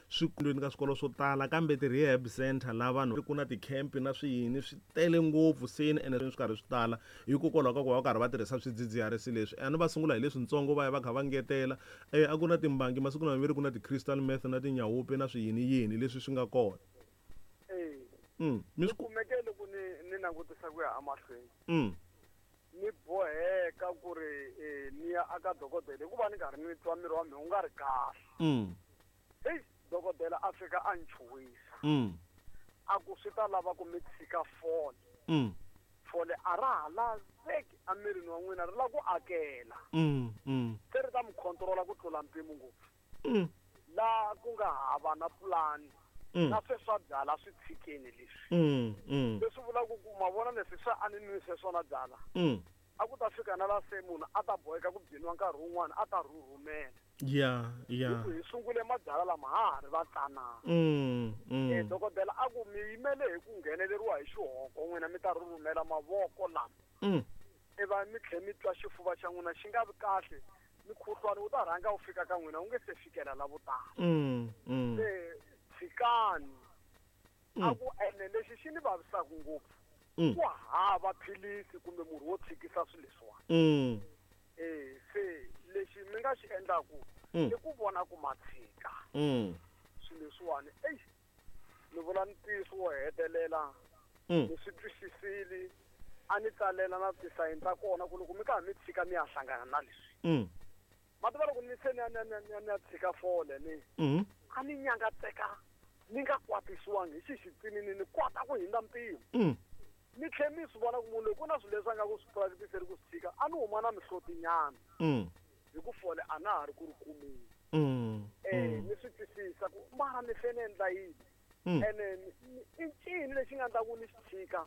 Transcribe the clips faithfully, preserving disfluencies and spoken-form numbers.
Swikolweni ka swikolo swo tala kambe ti-rehab center laha vanhu ku na ti-camp na swiyini swi tele ngopfu seni ene swi karhi swi tala hikokwalaho ka ku va va karhi va tirhisa swidzidziharisi leswi. A ni va sungula hi leswintsongo va ya va kha va ngetela. um a ku na timbangi masiku lama ve ri ku na ti-crystal meth na tinyawupe na swiyini yini leswi swi nga kona. E Mm, mi ni swi kumeke loko ni ni langutisa ku ya emahlweni mm, ni boheka ku ri eh, ni ya aka dokodela hikuva ni karhi ni twa miri wa mina wu nga ri kahle. mm, Heyi, dokodela a fika a ni chuhisa mm, a ku swi ta lava ku mi tshika fole. mm, Fole a ra ha laveki emirini wa n'wina, ri lava ku akela, mm, mm, se ri ta mi controla ku tlula mpimo ngopfu, mm, laha ku nga hava na pulani mm, na sweswa byala swi tshikeni leswi. mm, mm, Leswi vulaka ku ma vona leswi swa a ni nwise swona byala, mm. a ku ta fika na la se munhu a ta boheka ku byiniwa nkarhi wun'wani a ta rhurhumela. Ya ya. Hi ku hi sungule mabyala lama ha ha ri vatsanana. Mm, Eh, mm, dokodela a ku mi yimele hi ku ngheneleriwa hi xihoko n'wina mi ta rhurhumela mavoko lama, mm, iva mi tlhe mi twa xifuva xa n'wina xi nga vi kahle, mukhuhlwani wu ta rhanga wu fika ka n'wina wu nge se fikela la vo tala. mm, mm, Se tshikani. A Mm. ku ene lexi xi ni vavisaka ngopfu, mm, ku hava philisi kumbe murhi wo tshikisa swilo leswiwani. mm, E se lexi mi nga xi endlaku Mm. i ku vona ku ma tshika mm, swilo leswiwani. Eyi, ni vula ntiyiso wo hetelela, mm. ni swi twisisile, a ni tsalela na tisayini ta kona ku loko mi karhi mi tshika mi ya hlangana na leswi. Mm. Ma tiva loko ni se ni ya ni ya ni ya ni ya ni ya tshika fole ni Mm. a ni nyangatseka ni nga kwatisiwangi hi xixitsinini, ni kota ku hindza mpimo. Mm. Ni tlhe mi swi vona ku munhu loyi ku na swilo leswi a nga ku swi practice-ri ku swi tshika, a ni huma na mihlotinyana Mm. hi ku fole a na ha ri ku ri kumeni. Mm. Eh, ni swi twisisa ku mara ni fane endla yini, Mm. ene ni- ni- i ncini lexi nga endla ku ni xi tshika.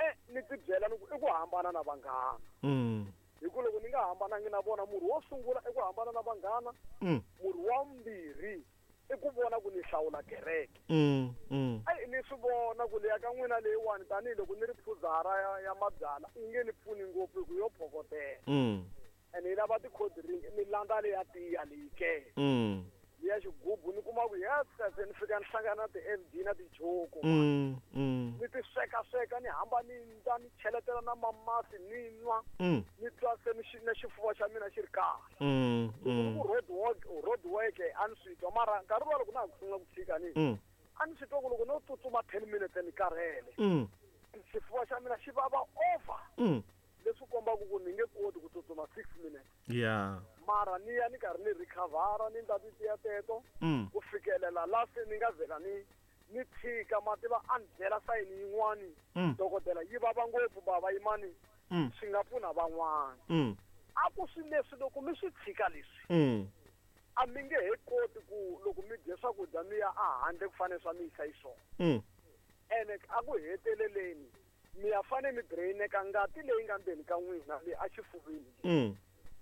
E ni ti byela ni ku i ku hambana na vanghana, Mm. hi ku loko ni nga hambanangi na vona, murhi wo sungula i ku hambana na vanghana, Mm. murhi wa vumbirhi i ku vona ku ni hlawula kereke. Mm. Mm. Ayi, ni swi vona ku leya ka n'wina leyiwani tanihiloko ni ri phuzara ya, ya mabyala yi nge ni pfuni ngopfu hi ku yo phokotela, Mm. ene yi lava ti-cold drink, ni landza leya tiya leyi ke Mm. leya xigubu, ni kuma ku yes se ni fika ni hlangana na ti-F D na tijoko, Mm. Mm. ni ti sweka sweka, ni hamba ni ndla ni cheletela na mamasi ni nwa, Mm. ni twa se ni xi- na xifuva xa mina xi ri kahle. Mm. Loko ni Mm. ku road work, road work a ni swi twa, mara nkarhi luwa loko na ha ku sungula ku tshika ni Mm. a ni swi twa ku loko no tsutsuma ten minutes ni karhele, Mm. xifuva xa mina xi vava over, Mm. leswi kombaka ku ni nge koti ku tsutsuma six minutes. Yeah. Mara ni ya ni karhi ni recovera, ni ndla titiya teto Mm. ku fikelela la se ni nga vhela ni ni tshika. Ma tiva a ni byela sayini yin'wani, Mm. dokodela yi vava ngopfu bava yimani, Mm. swi nga pfuna van'wana. Mm. A ku swi leswi loko mi swi tshika leswi, Mm. a mi nge he koti ku loko mi dye swakudya mi ya ehandle ku fanele swa mi yisa xiswona. Mm. Ene a ku heteleleni mi ya fane mi drain-eka ngati leyi nga ndzeni ka n'wina le exifuveni. Mm.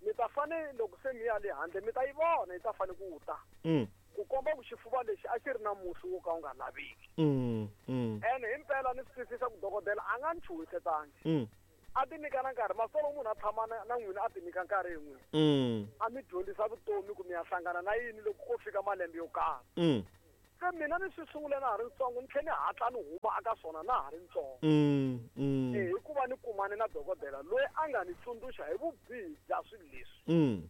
Mi ta fane loko se mi ya le handle mi ta yi vona yi ta fane ku ta, Mm. ku komba ku xifuva lexi a xi ri na musi wo ka wu nga laveki. Mm. Mm. Ene himpela ni swi twisisa ku dokodela a nga ni chuhisetangi, Mm. a ti nyika na nkarhi. Masolo munhu a tshama na, na n'wina a ti nyika nkarhi hi n'wina, Mm. a mi dyondzisa vutomi ku mi ya hlangana na yini loko ko fika malembe yo karhi. Mm. Se mina ni swi sungule na ha ri ntsongo, ni tlhe ni hatla ni huma aka swona na ha ri ntsongo. Mm. Mm. E hikuva ni kumane na dokodela loyi a nga ni tsundzuxa hi vubihi bya swilo leswi. Mm.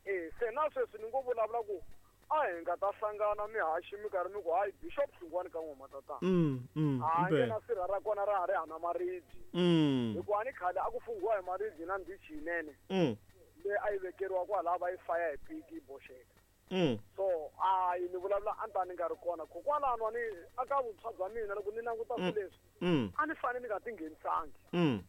E se na sweswi ni ngo vulavula ku a hi nga ta hlangana mihaxi mi karhi mi ku hayi Bishop Hlungwani ka n'we matatana, Mm. Mm. a nge Impela. na sirha ra kona ra ha ri hana maribye, Mm. hikuva ni khale a ku funghiwa hi maribye na ndichi yinene Mm. leyi a yi vekeriwa kwalaya va yi faya hi piki yi boxeka. Mm. So ayi ni vulavula a ni ta ni nga ri kona kokwalano ni aka vuntshwa bya mina loko ni languta swilo leswi, Mm. a ni fane ni nga tinghenisangi. Mm.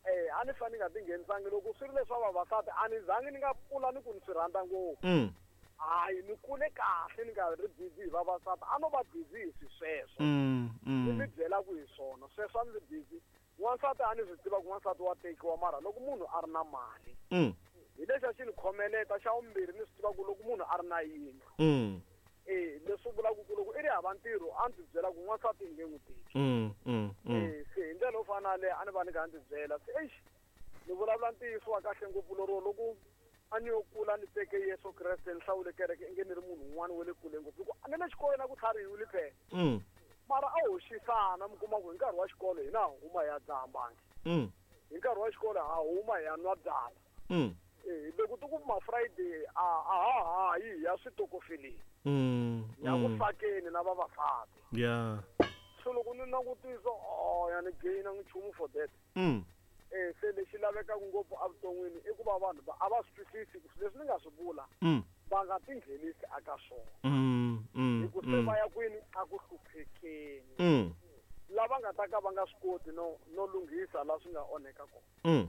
Eh, a ni fane ni nga tinghenisangi loko swi ri leswa vavasati a ni zangi ni nga pfula ni ku ni swi rhandza ngopfu. Mm. Hayi, ni kule kahle ni nga ri busy hi vavasati, a no va busy hi swi sweswo. Mm. Ni mi Mm. byela ku hi swona sweswo a ni ri busy. N'wansati a ni swi tiva ku n'wansati wa tekiwa, mara loko munhu a ri na mali, Mm. hi lexi a xi ni khomeleta. Xa vumbirhi ni swi tiva ku loko munhu a ri na yindlu, Mm. e leswi vulaka ku loko i ri hava ntirho a ndzi byela ku n'wansati i nge n'wi teki. Mm. Mm. Mm. E se hi ndlela yo fana na yaleyo a ni va ni kha ndzi byela se, eish, ni vulavula ntiyiso wa kahle ngopfu lero loko A ni yo kula ni teke Yesu Kreste ni hlawule kereke inge ni ri munhu un'wana wa le kule ngopfu hi ku a ni le xikolweni a ku tlharihiwile phela. Mm. Mara a hoxisana mi kuma ku hi nkarhi wa xikolo hina ha huma hi ya dzaha mbangi. Mm. Hi nkarhi wa xikolo ha huma hi ya nwa byala. Mm. Eh, loko ti ku ma Friday a a ha ha yi hi ya switokofeleni. Mm. Ya ku Mm. fakeni na vavasati. Yeah. So loko ni langutisa oh ya ni gain nchumu for that. Mm. Eh se lexi lavekaka ngopfu evuton'wini i ku va vanhu va a va swi twisisi ku swilo leswi ni nga swi vula Mm. va nga tinghenisi aka swona. Mm. Mm. Hi ku se Mm. va ya kwini a ku hluphekeni. Mm. Lava nga ta ka va nga swi koti no no lunghisa laha swi nga onheka kona. Mm.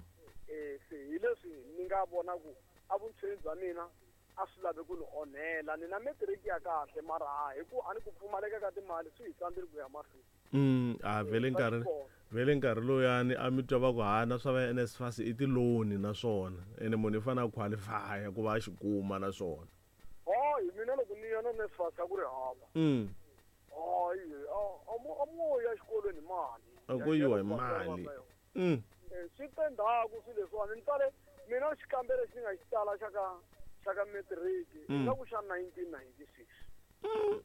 Eh se hi leswi ni nga vona ku evuntshweni bya mina a swi lavi ku ni onhela ni na matric ya kahle mara ha hi ku a ni ku pfumaleka ka timali swi hi tsandzile ku ya mahlweni. Mm. A vele Eh, swa nkarhi xikolo. vele nkarhi lowuyani a mi twa va ku hana swa va N S F A S i ti-loan naswona ene munhu i fanele a qualify ku va a xi kuma naswona. Hayi mina loko ni ya na N S F A S a ku ri hava. Mm. Hayi a a mo a mo ya xikolweni hi mali. A ko yiwa hi mali. Mm. Eh, swi te ndzhaku swilo leswiwani ni tsale mina xikambelo lexi ni nga xi tsala xa ka xa ka matric Mm. ingaku xa nineteen ninety-six.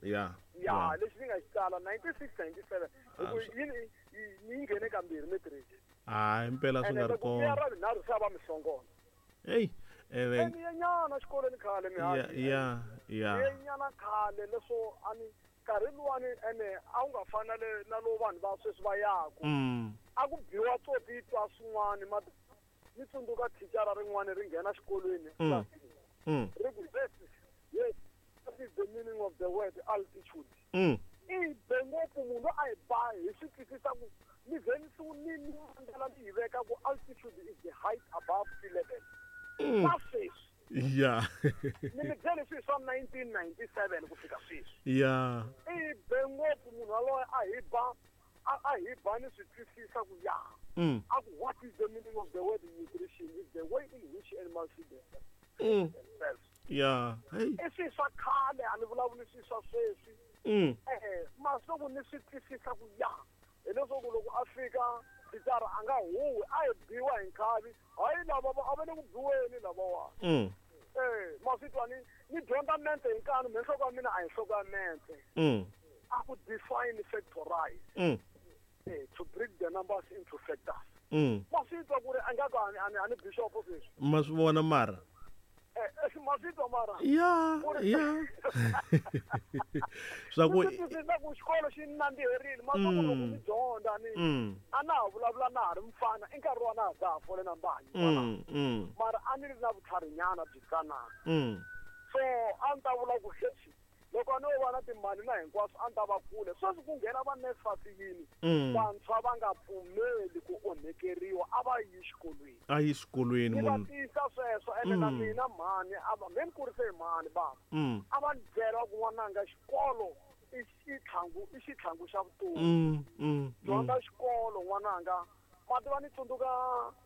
Yeah. Ya lexi ni nga xi tsala ninety-six ninety-seven hi ku Ah, swi- yi yi- ni yi nghene kambirhi matric. Hayi impela swi Ene nga ri loko ni ya kona. ra vunharhu se a va mi hlongola. Hey, ene Ni ye nyana xikolweni khale ya mihaxi. ya ya. Ni ye nyana khale leswo a ni nkarhi luwani ene a wu nga fani na le na lowu vanhu va sweswi va yaku. Mm. A ku biwa tsotsi twa swin'wani ma ni tsundzuka thicara rin'wani ri nghena xikolweni Mm. Mm. ri ku this is yes what is the meaning of the word altitude. Mm. I be ngopfu munhu a hi ba hi swi twisisa ku ni ze ni su ni ni ndlela ni yi veka ku altitude is the height above sea level. Mm. Na sweswi Yeah. ni mi byele swilo swa nineteen ninety-seven ku fika sweswi. Yeah. I be ngopfu munhu yaloye a hi ba a a hi ba ni swi twisisa ku ya. Mm. A ku what is the meaning of the word nutrition is the way in which animals feed themselves. Mm. Themselves. Yeah. Hey. I swilo swa khale a ni vulavuli swilo swa sweswi. Mm. Eh masiku ni swi twisisa ku ya hileswaku loko a fika thicara a nga huwi a hi biwa hi nkhavi hayi lava va a va le ku biweni lavawani. Mm. Eh maswi twa ni ni dyondza mente hi nkani me nhloko ya mina a hi nhloko ya mente. Mm. A ku define factorize. Mm. Eh, to break the numbers into factors. Mm. Maswi twa ku ri a nga ku a ni a ni a ni bishop sweswi. Ma swi vona mara. Eh eh, maswi twa mara. Ya, ya. Swa ku Ni swi twisisa ku xikolo xi ni nandziherile masiku loko Mm. ni dyondza ni Mm. a na ha vulavula na ha ri mfana i nkarhi wa na ha dzaha fole na mbangi Mm. Mm. mara a ni ri na vutlharinyana byi tsanana. Mm. So a ni ta vula ku hexi loko a no va na timali na hinkwaswo a ni ta va kule sweswi ku nghena va N S F A S yini Mm. vantshwa va nga pfumeli ku onhekeriwa a va yi xikolweni. A yi xikolweni Ni va munhu. tiyisa sweswo ene na Mm. mina mhani a va me ni kurise hi mhani bava. Mm. A va ni byela ku n'wananga xikolo i xitlhangu i xitlhangu xa vutomi. Mm. Mm. Dyondza xikolo n'wananga ma tiva ni tsundzuka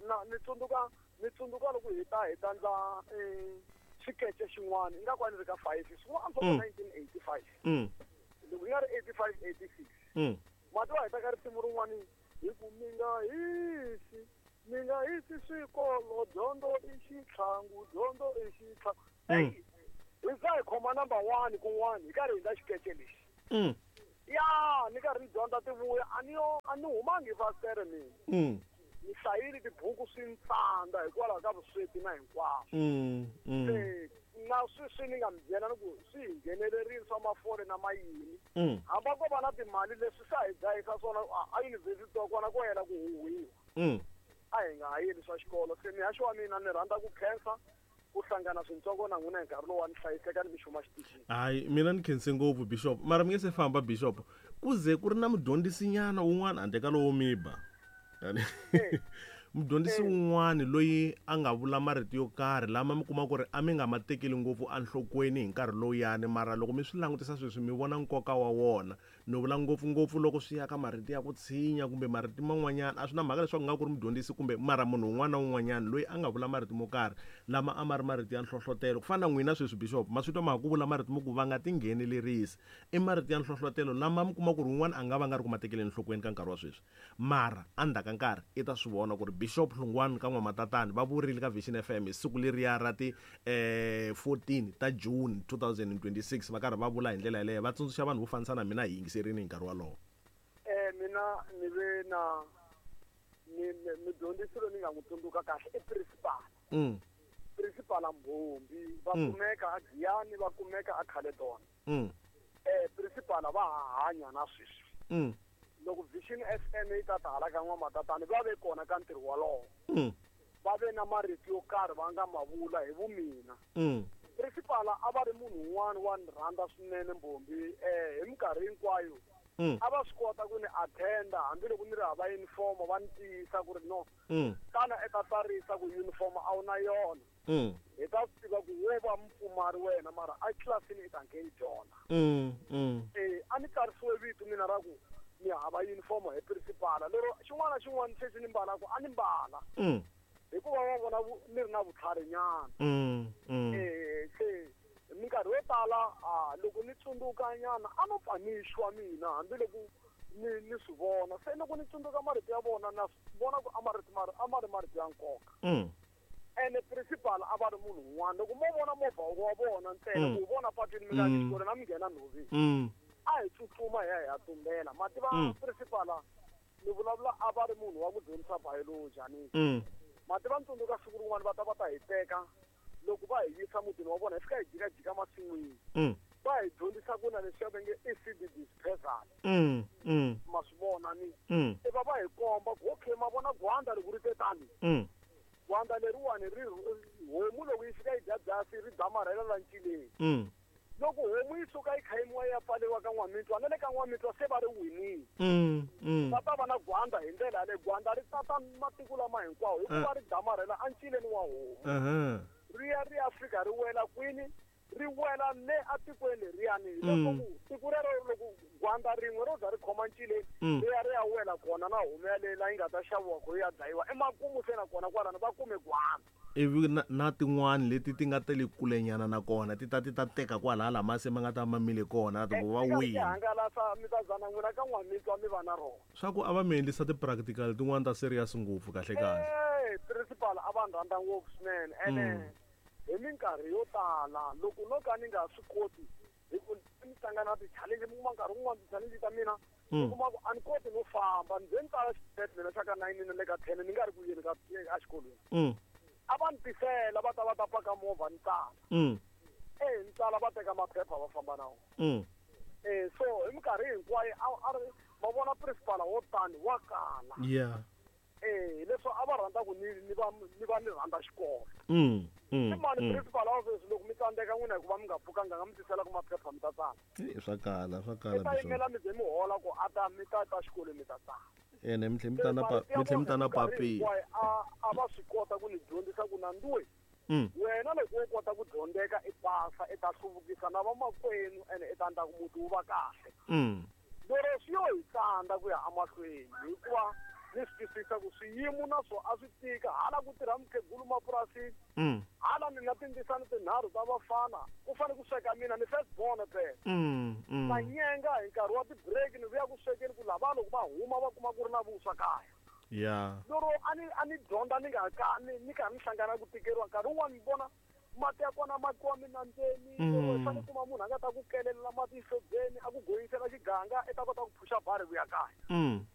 na ni tsundzuka ni tsundzuka loko hi ta hi ta ndla eh, xikece xin'wana ingaku a ni ri ka five swin'wana swa Mm. nineteen eighty-five. Mm. Loko yi nga ri eighty-five eighty-six. Mm. Ma tiva hi ta ka risimu rin'wani hi ku mi nga hisi mi nga hisi swikolo dyondzo i xitlhangu dyondzo i xitlhangu. Mm. Eyi hi za hi khoma number one kun'wana hi karhi hi ndla xikece lexi. Mm. Ya ni karhi ni dyondza ti vuya a ni yo a ni humangi hi fasitere mina. Mm. Ni hlayile tibuku swi ni tsandza hikwalaho ka vusweti na hinkwaswo. Mm. Mm. Se na sweswi ni nga mi byela ni ku swi hi nghenelerile swa mafole na mayini. Mm. Hamba ko va na timali leswi swa hi dlayisa swona a a yunivhesiti wa kona ko yela ku huhwiwa. Mm. A hi nga ha yeli swa xikolo se mihaxo wa mina ni rhandza ku khensa ku hlangana swintsongo na n'wina hi nkarhi lowu wa ni hlayiseka ni mi xuma xitichini. Hayi mina ni khense ngopfu bishop mara mi nge se famba bishop ku ze ku ri na mudyondzisinyana wun'wana handle ka lowo mi ba. Mudyondzisi wun'wana loyi a nga vula marito yo karhi lama mi kuma ku ri a mi nga ma tekeli ngopfu enhlokweni hi nkarhi lowuyani mara loko mi swi langutisa sweswi mi vona nkoka wa wona. Ni vula ngopfungopfu loko swi ya ka marito ya ku tshinya kumbe marito man'wanyana a swi na mhaka leswaku nga ku ri mudyondzisi kumbe mara munhu un'wana na un'wanyana loyi a nga vula marito mo karhi lama a ma ri marito ya nhlohlotelo ku fana na n'wina sweswi bishop ma swi twa ma ha ku vula marito mo ku va nga tinghenelerisi i marito ya nhlohlotelo lama mi kuma ku ri un'wana a nga va nga ri ku ma tekeleni enhlokweni ka nkarhi wa sweswi mara endzhaku ka nkarhi i ta swi vona ku ri Bishop Hlungwani ka N'wamatatani va vurile ka Vision F M hi siku leriya ra ti eh fourteen ta June two thousand twenty-six va karhi va vula hi ndlela yaleyo va tsundzuxa vanhu vo fanisa na mina hi yingiserini hi nkarhi wolowo. Eh mina ni ve na ni mudyondzisi loyi ni nga n'wi tsundzuka kahle i principal. Mm. Principal Mbhombi va kumeka a Giyani va kumeka a Caledon. Mm. Eh principal va hanya na sweswi. Mm. Loko Vision F M yi ta ta hala ka N'wamatatani va ve kona ka ntirho wolowo. Mm. Va ve na marito yo karhi va nga ma vula hi vumina. Mm. Principal a va ri munhu un'wana wa ni rhandza swinene Mbhombi eh hi minkarhi hinkwayo. Mm. A va swi kota ku ni attenda hambiloko ni ri hava uniform va ni tiyisa ku ri no. Mm. Tana eka tsarisa ku uniform a wu na yona. Mm. Hi ta swi tiva ku wo va mupfumari wena mara a tlilasini i ta nge yi dyondza. Mm. Mm. Eh a ni tsarisiwe vito mina ra ku ni hava uniform hi principal lero xin'wana na xin'wana xexi ni mbalaka a ni mbala. Mm. Hikuva va vona ni ri na vutlhari nyana. Mm. Mm. Eh se minkarhi yo tala a loko ni tsundzuka nyana a no pfa ni xwa mina hambiloko ni ni swi vona se loko ni tsundzuka marito ya vona na vona ku a marito mari a ma ri marito ya nkoka. Mm. Ene principal a va ri munhu un'wana loko mo vona movha wa vona ntsena ku vona patwini mi nga xikolweni a mi nghena nhoveni. Mm. A hi tsutsuma hi ya hi ya tumbela ma tiva principal ni vulavula a va ri munhu wa ku dyondzisa biology ani. Mm. Ma tiva ni tsundzuka siku rin'wana va ta va ta hi teka loko va hi yisa mutini wa vona hi fika hi jikajika masin'wini. Mm. Va hi dyondzisa ku na leswi va nge E C D dispersal. Mm. Mm. Ma swi vona ni. Mm. E va va hi komba ku okay ma vona gwanda loko ri te tani. Mm. Gwanda leriwani ri homu loko yi fika yi dya byasi ri damarhela la ncileni. Mm. Loko homu yi suka yi khayimiwa yi ya pfaleriwa ka N'wamitwa na le ka N'wamitwa se va ri winile. Mm. Mm. Va ta va na gwanda hi ndlela yaleyo gwanda ri tata matiko lama hinkwawo hikuva ri damarhela encileni wa homu. Uh-huh. Ri ya ri ya fika ri wela kwini ri wela le atikweni leriyani leswaku tiko rero loko gwanda rin'we ro za ri khoma ncileni ri ya ri ya wela kona na homu yaleyo laha yi nga ta xaviwa ku yi ya dlayiwa emakumu se na kona kwalano va kume gwanda. Ivi na, na tin'wani leti ti nga ta le kulenyana na kona ti ta ti ta teka kwalaya lama se ma nga ta mamile kona ti va wini. Hangalasa mi ta zana n'wina ka N'wamitwa mi va na rona. Swa ku a va mi endlisa ti-practical tin'wani ta serious ngopfu kahle kahle. Eh principal a va rhandza ngopfu swinene ene hi minkarhi yo tala loko no ka ni nga swi koti hi ku ni hlangana na ti-challenge mi kuma nkarhi wun'wani ti-challenge ta mina ni kuma ku a ni koti no famba ni ze ni tsala xitete mina xa ka nine na le ka ten ni nga ri ku yeni ka exikolweni. Mm. A va ni tisela va ta va ta paka movha ni tsala. Mm. Eh ni tsala va teka maphepha va famba na wona. Mm. Eh so hi minkarhi hinkwayo a ri ma vona principal wo tani wa kala. Yeah. Eh leswo a va rhandza ku ni ni va ni va ni rhandza xikolo. Mm. Mm. I mani principal wa sweswi loko mi tsandzeka n'wina hikuva mi nga pfukanga nga mi tisela ku maphepha mi ta tsala. Eh swa kala swa kala. Mi ta yimela mi ze mi hola ku a ta mi ta ta xikolweni mi ta tsala. Ene mi tlhe mi ta na pa mi tlhe mi ta na papila. A a va swi kota ku ni dyondzisa ku na nduwe. Mm. Wena loko wo kota ku dyondzeka i pasa i ta hluvukisa na vamakwenu ene i ta endla ku muti wu va kahle. Mm. Lero swi yo hi tsandza ku ya emahlweni hikuva ni swi twisisa ku swiyimo na swo a swi tika hala ku tirha mukhegulu mapurasini. Mm. Hala ni na tindzisana tinharhu ta vafana ku fanele ku sweka mina ni first born phela. Mm. Mm. Va nyenga hi nkarhi wa ti-break ni vuya ku swekeni ku lava loko va huma va kuma ku ri na vuswa kaya. Yeah. Lero a ni a ni dyondza ni nga ka ni ni karhi ni hlangana ku tikeriwa nkarhi wun'wani ni vona mati ya kona ma kiwa minambyeni Mm. fanele kuma munhu a nga ta ku kelelela mati xihlobyeni a ku goyisela xiganga i ta kota ku phusha bari ku ya kaya. Mm.